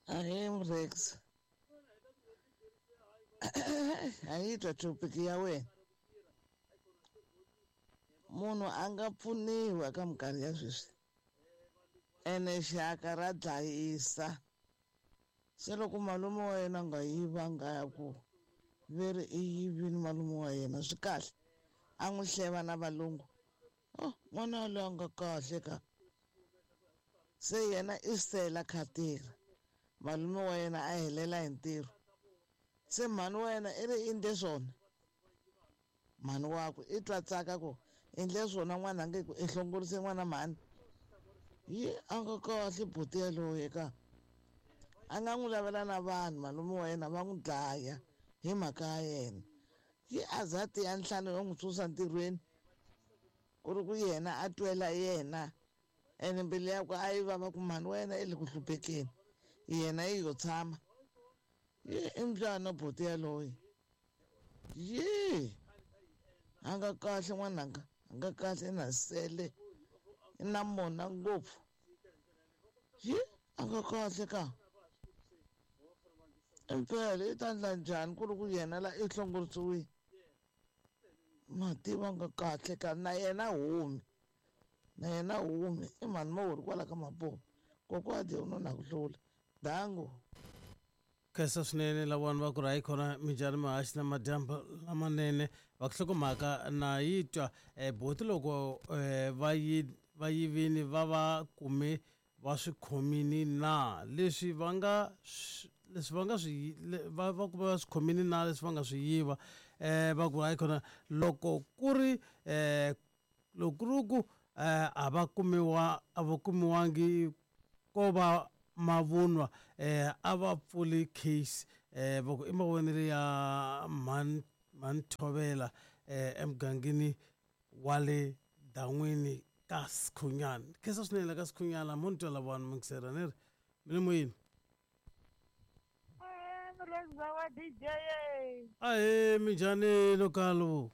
Ahee Mrex. A yi twa topic ya wena. Munhu a nga pfuniwi eka minkarhi ya sweswi. Ene xaka ra dlayisa. Se loko malume wa yena a nga yivanga ya ku ve ri i yivile malume wa yena swi kahle a n'wi hleva na valungu. Oh n'wana yaloye a nga kahle ka. Se yena i sela kha tirha malume wa yena a helela hi ntirho. Se mhani wa yena i ri i ndle swona mhani wakwe i twa tsaka ku i ndle swona n'wana nge ku i hlongorise n'wana mhani. Yi a nga kahle buti yaloye ka a nga n'wi lavela na vanhu malume wa yena va n'wi dlaya hi mhaka ya yena. Yi a za a tiya nhlana yo n'wi susa ntirhweni ku ri ku yena a twela yena ene mbilu yakwe a yi vava ku mhani wa yena i le ku hluphekeni yena yi yo tshama yi i mbyana buti yaloye yi a nga kahle n'wananga a nga kahle na sele i na mona ngopfu yi a nga kahle ka impela i ta ndla njhani ku ri ku yena la i hlongorisiwile ma tiva nga kahle ka na yena humi na yena humi i mhani mawuri kwala ka mapopo kokwadi u no na ku hlula dango. Khensa swinene lavona va ku ri hayi khona minjhani mahaxi na madyambu lamanene va ku hlokomhaka na yi twa um boti loko um va yi va yivini va va kume va swi khomini na leswi va nga leswi va nga swi va va kume va swi khomini na leswi va nga swi yiva um va ku hayi khona loko ku ri um Loko ku ri ku a va kumiwa a va kumiwangi ko va mavunwa a va pfuli case va ku i mavonelo ya mhani mhani Thovela emugangeni wa le Dan'wini ka Sikhunyana. Khensa swinene la ka Sikhunyana mo ni twa lavawani muyingiseri a ni ri mi le moyeni. Murhandziwa wa DJ. Ahee minjhani lokalo?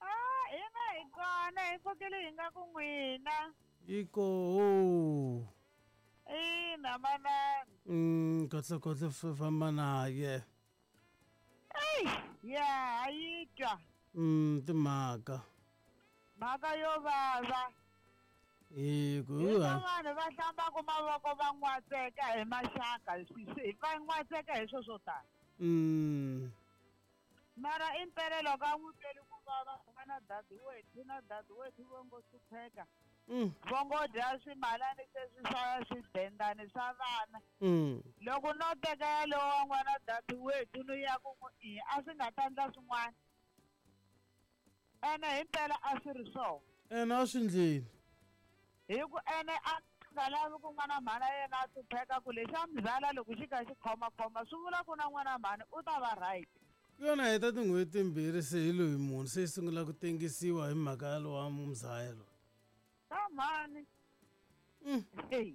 Ah, hina hi kona hi pfukile hi nga ku n'wina. Yi koho. Ina manana. Kahle kahle famba naye. Ey, ya ha yi twa. Timhaka. Mhaka yo vava. Hi ku Hi ka vanhu va hlambaka mavoko va n'watseka hi maxaka va n'watseka hi swo swo tala. Mara impela loko a n'wi tweli ku vava n'wana dadewethu na dadewethu vo ngo hlupheka vo ngo dya swimalani sweswi swa swidendani swa vana loko no teka yalowo wa n'wana dadewethu ni ya ku n'wi i a swi nga ta ndla swin'wana ene himpela a swi ri swona. Ene a swi ndleni. Hi ku ene a nga lavi ku n'wana mhani a yena a hlupheka ku lexi a muzala loko xi kha xi khomakhoma swi vula ku na n'wana mhani u ta va right. Ku yona heta tin'hweti timbirhi se hi loyi munhu se yi sungula ku tengisiwa hi mhaka ya lowa muzaya loyi. Ka mhani. Hey.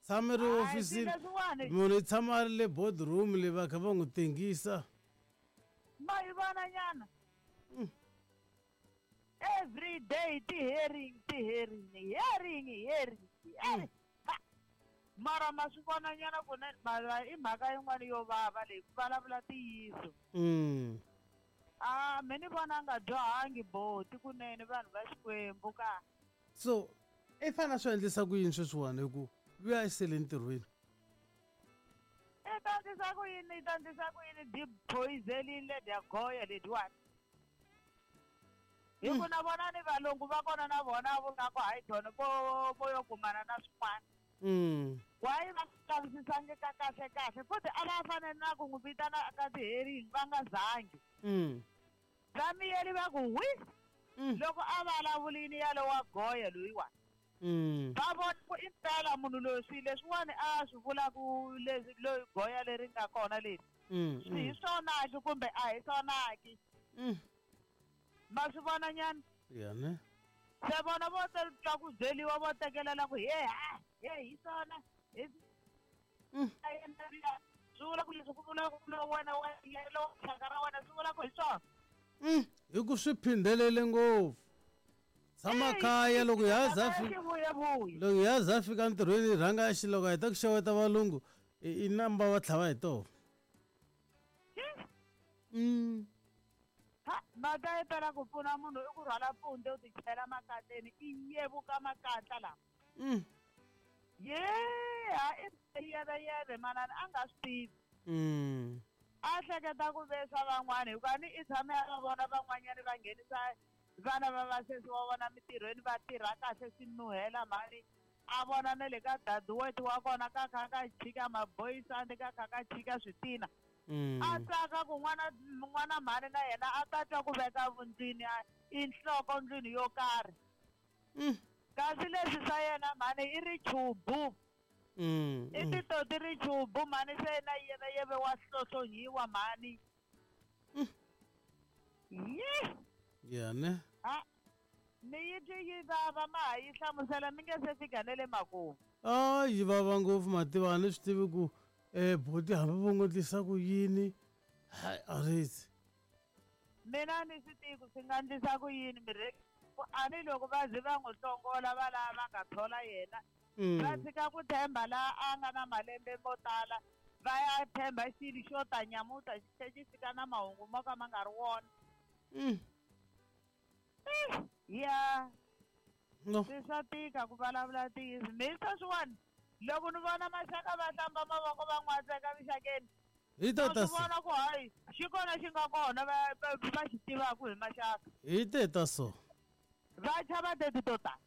Tshama ri Hayi, ofisini swilo leswiwani. munhu i tshama a ri le boardroom le va kha va n'wi tengisa. Ma yi vona nyana. Every day ti-hearing ti-hearing hearing hearing hearing. Ha! Mara ma swi vona nyana ku ne mara i mhaka yin'wana yo vava leyi ku vulavula ntiyiso. A me ni vona a nga dyohangi boti kunene vanhu va Xikwembu ka. So i fanele a swi endlisa ku yini sweswiwani hi ku luya i sele ntirhweni. I ta endlisa ku yini i ta endlisa ku yini dyi phoyizelini ledya goya ledyiwani. Hi ku na vona ni valungu va kona na vona vo nga ku hayi tona vo vo yo kumana na swin'wana. Why va nga lavisisangi ka kahle kahle futhi a va fanele na ku n'wi vitana ka ti-hearing va nga zangi. Va miyeli va ku hwi loko a vulavulini yalowa goya loyiwani. Va vona ku impela munhu loyi swilo leswiwani a swi vulaku leswi loyi goya leri nga kona leri swi hi swona-ke kumbe a hi swona-ke. Ma swi vona nyana? Ya ne. Se vona vo twa ku byeliwa vo tekelela ku he ha he hi swona hi swi vula ku leswi ku vula ku lowu wena wa lowu xaka ra wena swi vula ku hi swona. Hi ku swi phindhelele ngopfu. Tshama kaya loko ya za fika loko ya za fika ntirhweni rhanga xi loko a heta ku xeweta valungu. I namba va tlhava hi toho. Ha mhaka yi tala ku pfuna munhu i ku rhwala pfunde u ti chela makatleni i yevuka makatla lama. Ye ha i yeveyeve manana a nga swi tivi. A hleketa ku vesa van'wana hikuva ni i tshame a va vona van'wanyana va nghenisa vana va vasesi wa vona mintirhweni va tirha kahle swi nuhela mhani a vona na le ka daduweti wa kona ka kha ka chika maboyisandi ka kha ka chika switina. A tsaka ku n'wana mhani na yena a ta twa ku veka vundlwini i nhloko ndlwini yo karhi. Kasi leswi swa yena mhani i richubu. I titoti richubu mhani se na yena yeve wa hlohlonyiwa mhani. Yi. Ya ne. Ha ni yi twi yi vava ma ha yi hlamusela mi nge se fika na le makumu. A yi vava ngopfu mativa a ni swi tivi ku buti hambi vo n'wi endlisa ku yini hayi a ritsi. Mina ni swi tivi ku swi nga endlisa ku yini mirhi a ni loko va ze va n'wi hlongola va lava va nga thola yena va tshika ku tshemba laha a nga na malembe mo tala va ya tshemba xilo xo ta nyamuta xi tlhe xi fika na mahungu mo ka ma nga ri wona. Ya no swi swa tika ku vulavula ntiyiso mi sweswiwani loko ni vona maxaka va hlamba mavoko va n'watseka mixakeni hi ta swi vona ku hayi xi kona xi nga kona va xi tivaka hi maxaka hi teta so va chava teti to tala.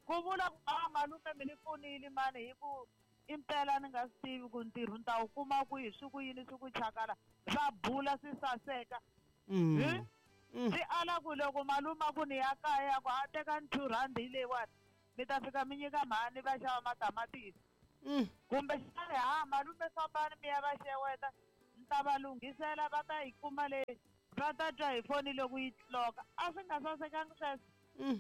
Ku vula ku a malume mi ni pfunile mani hi ku impela ni nga swi tivi ku ntirho ni ta wu kuma kwihi swi ku yini swi ku chakala va bula swi saseka. Swi ala ku loko malume ku ni ya kaya ku a teka ni 2 rand hi leyiwani mi ta fika mi nyika mhani va xava matamatisi. Kumbe xana ha malume fambani mi ya va xeweta ni ta va lunghisela va ta yi kuma leyi va ta twa hi foni loko yi tloka a swi nga sasekangi sweswo.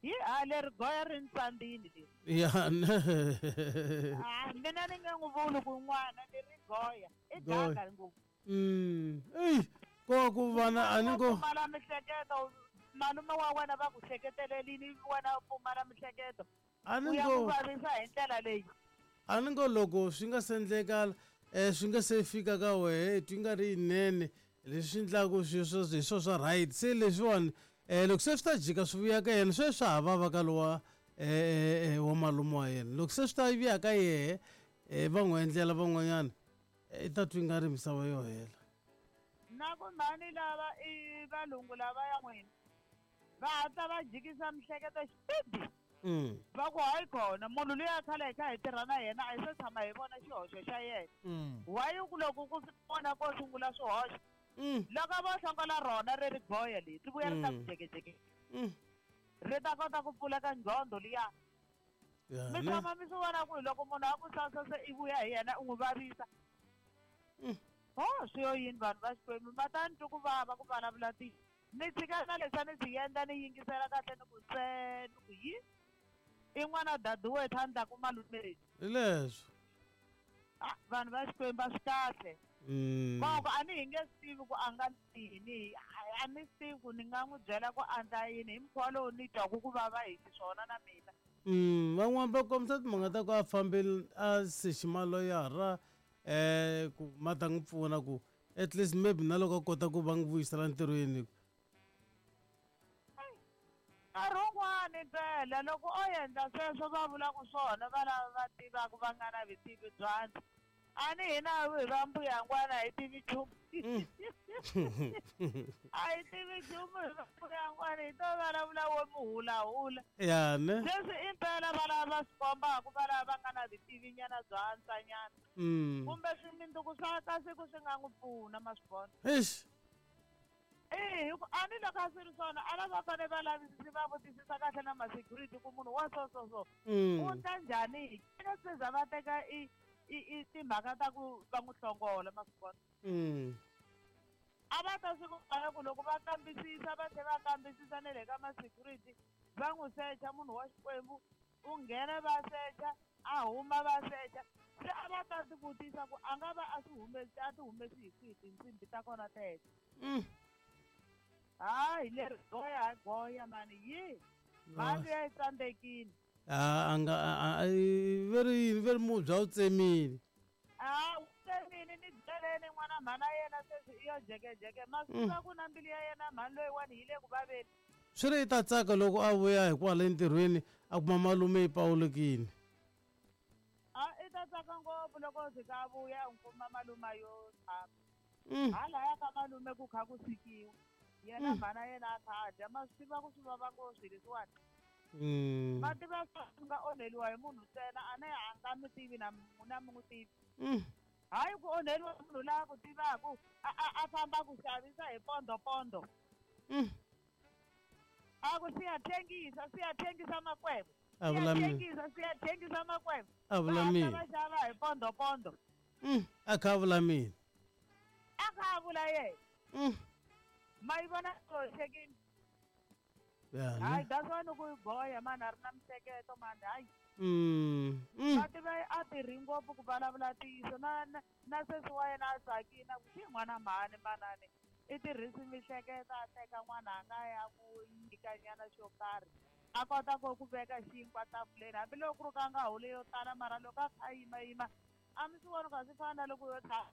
Hi ha leri goya ri ni tsandzini leri. Ya ne. A mina ni nge n'wi vuli ku n'wana leri goya i ganga ngopfu. Ey ko ku vana a ni ko pfumala mihleketo malume wa wena va ku hleketelelini wena u pfumala mihleketo. A ni ngo vavisa hi ndlela leyi. A ni ngo loko swi nga se endleka swi nga se fika ka wehe twi nga ri yinene leswi endlaku sweswo hi swo swa right se leswiwani loko se swi ta jika swi vuya ka yena sweswi swa ha vava ka lowa wa malume wa yena loko se swi ta vuya ka yehe va n'wi endlela van'wanyana i ta twi nga ri misava yo hela. Na ku mhani lava i valungu lava ya n'wina va hatla va jikisa mihleketo xipidi. Va ku hayi kona munhu luya khale hi kha hi tirha na yena a hi se tshama hi vona xihoxo xa yena. Why ku loko ku vona ko sungula swihoxo loko vo hlongola rona ri ri goya leri ri vuya ri ta ku jekejeke ri ta kota ku pfuleka nqondo liya. Mi tshama mi swi vona ku loko munhu a ku sasa se i vuya hi yena u n'wi vavisa. Ho swi yo yini vanhu va Xikwembu ma ta ni twi ku vava ku vulavula ntiyiso. Ni tshika na leswi a ni swi endla ni yingisela kahle ni ku ntsena ku yi i n'wana daduwethu a ndlaku malume lexi. Hi leswo. Vanhu va Xikwembu a swi kahle. Koko a ni hi nge swi tivi ku a nga yini a ni swi tivi ku ni nga n'wi byela ku andla yini hi mukhuva lowu ni twaku ku vava hi xiswona na mina. Van'wani va kombisa timhaka ta ku a fambile a sechi maloyara ku ma ta n'wi pfuna ku at least maybe na loko a kota ku va n'wi vuyisela ntirhweni. Nkarhi wun'wani mpela loko o endla sweswo va vulaka swona va lava va tivaka va nga na vutivi bya a ni hina hi va mbuyangwana hi tivi nchumu. A hi tivi nchumu hi va mbuyangwana hi to vulavula wo muhulahula. Ya ne. Leswi impela va lava va swi kombaka va lava va nga na vutivinyana bya antswanyana. Kumbe swiminduku swa ka siku swi nga n'wi pfuna ma swi vona. Eish. Hi ku a ni loko a swi ri swona a lava fanele va lavisisi va vutisisa kahle na ma-security ku munhu wa so so so u ndla njhani hi se za va teka i timhaka ta ku va n'wi hlongola ma swi vona. A va ta swi kuma ku loko va kambisisa va tlhela va kambisisa na le ka ma-security va n'wi secha munhu wa Xikwembu u nghena va secha a huma va secha se a va ta ti vutisa ku a nga va a swi humesi a ti humesi hi kwihi tinsimbhi ta kona teto. Hayi leri goya goya mani yi mali ya yi tsandzekile. A nga veri veri mubya wu tsemile. A wu tsemile ni byeleni n'wana mhana yena sweswi i yo jekejeke ma swi tiva ku na mbilu ya yena mhani loyiwani yi le ku vaveni. Swi ri i ta tsaka loko a vuya hikwala entirhweni a kuma malume yi pawulukile. A i ta tsaka ngopfu loko o fika a vuya a n'wi kuma malume yo tshama. Halaya ka malume ku kha ku swikiwa yena mhana yena a kha a dya ma swi tiva ku swi vava ngopfu swilo leswiwani. Ma tiva swi nga onheliwa hi munhu ntsena a ne a nga mi tivi na na mi n'wi tivi. Hayi ku onheliwa hi munhu la ku tivaku a a a famba ku xavisa hi pondo pondo. A ku siyathengisa siyathengisa makwebo. A vula mina. Siyathengisa siyathengisa makwebo. A vula Va hatla mina. va xava hi pondo pondo. A kha a vula mina. A kha a vula yena. Ma yi vona hoxekile. Ya, ne? Hayi that's why ni ku goya mani a ri na mihleketo mani hayi. Va tiva a tirhi ngopfu ku vulavula ntiyiso na na na sesi wa yena a tsakile a ku xi n'wana mhani manani i tirhisi mihleketo a teka n'wana a nga ya ku nyikanyana xo karhi a kota ku ku veka xinkwa tafuleni hambiloko ku ri ka nga holi yo tala mara loko a kha a yimayima a mi swi voni ka swi fana na loko yo tshama.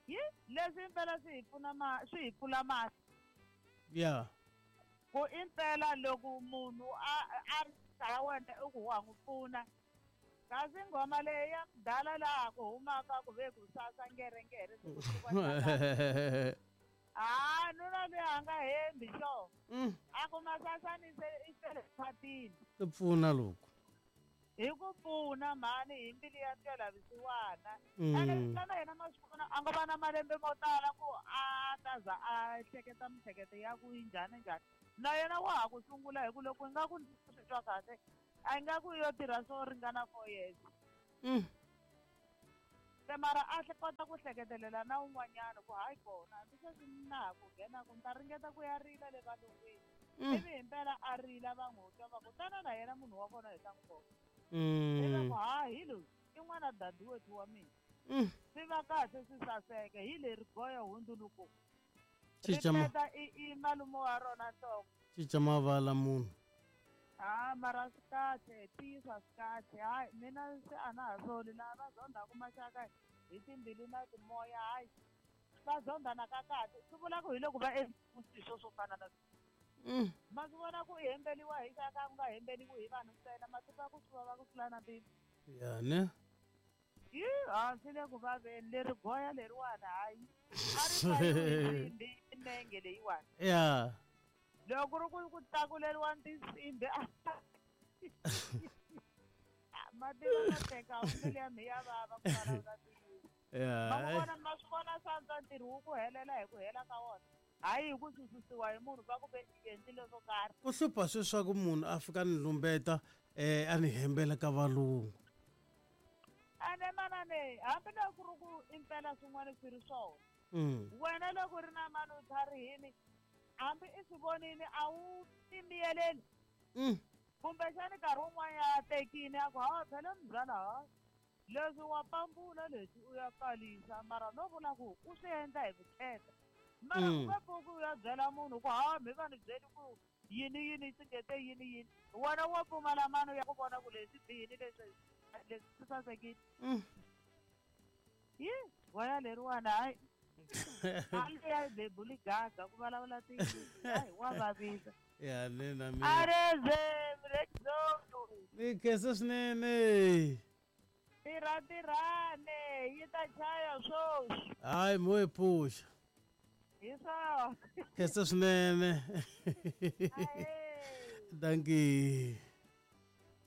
Yi leswi impela swi hi pfuna ma swi hi pfula mahlo. Ya. Ku impela loko munhu a a ri ya wena i ku wa n'wi pfuna kasi nghoma leyi ya mudala laha ku humaka ku ve ku sasa ngerengere ha nuna loyi a nga hembi xo a ku masasani se i fele phatini. Ku pfuna loko. Hi ku pfuna mhani hi mbilu ya twela vusiwana. Ene na yena ma swi vona a nga va na malembe mo tala ku a ta za a hleketa mihleketo ya ku yi njhani njhani. Na yena wa ha ku sungula hi ku loko i nga ku ndzi swi twa kahle a nga ku yo tirha swo ringana 4 years. Se mara a kota ku hleketelela na un'wanyana ku hayi kona hambi sweswi na ha ku nghena ku ni ta ringeta ku ya rila le valungwini. Ivi himpela a rila va n'wi twa va ku tana na yena munhu wa kona hi ta n'wi vona. Ivi va ku ha hi loyi i n'wana dadiwethu wa mina. Swi va kahle swi saseke hi leri goya hundzuluko. Ri peta i i malume wa rona nhloko. Cinca mavala munhu. Ha mara swi kahle ntiyiso a swi kahle hayi mina se a na ha soli lava va zondhaku maxaka hi timbilu na timoya hayi va zondhana ka kahle swi vula ku hi loko va endle swilo swo fana na ma swi vona ku i hembeliwa hi xaka ku nga hembeliwi hi vanhu ntsena ma tiva ku swi vava ku tlula na mpimo. Ya ne. Yi ha swi le ku vaveni leri goya leriwani hayi a ri fayiwi hi nenge leyiwani. Ya. Loko ku ri ku ku tlakuleriwa tinsimbhi ma tiva ma teka mbilu ya mina ya vava ku vulavula ntiyiso. Ya. Ma n'wi vona ma swi vona swantswa ntirho wu ku helela hi ku hela ka wona hayi hi ku sususiwa hi munhu va ku ve i endlile swo karhi. Ku hlupha sweswi ku munhu a fika ni lumbeta a ni hembela ka valungu. Ene manane hambiloko ku ri ku impela swin'wana swi ri swona. Wena loko u ri na mani u tlharihini hambi i swi vonile a wu timiyeleli. Kumbexani nkarhi wun'wanyana a tekile a ku hawa phela mzala ha leswi wa pambula leswi u ya kalisa mara no vula ku u swi endla hi vukheta. Mara u nge pfuki u ya byela munhu ku hawa mi va ni byeli ku yini yini swi ngete yini yini. Wena wo pfumala mano ya ku vona ku leswi bihile leswi leswi swi sasekile. Yi goya leriwani hayi a liya bebuli gaga ku vulavula ntiyiso hayi wa vavisa. Ya ne na mina. Areze mrexo. Ni khensa swinene. Tirha tirhane yi ta chaya swoswi. Hayi mo yi pfuxa. Hi swona. Khensa swinene. Ahee. Dankie.